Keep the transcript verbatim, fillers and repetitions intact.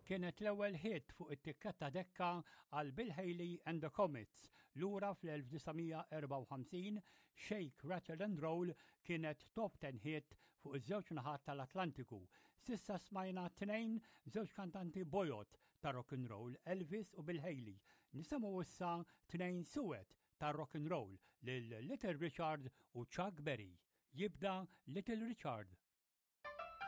Kienet l-ewwel hit fuq it-tikketta Decca għal Bill Haley and the Comets. Lura fl-elf disa' mija erbgħa u ħamsin, Shake, Rattle and Roll kienet top ten hit fuq iż-żewġ naħat tal-Atlantiku. S'issa smajna tnejn, żewġ kantanti bojod ta' rock and roll, Elvis u Bill Haley. Nisimgħu issa tnejn suwed ta' rock and roll, lil Little Richard u Chuck Berry. Jibda Little Richard.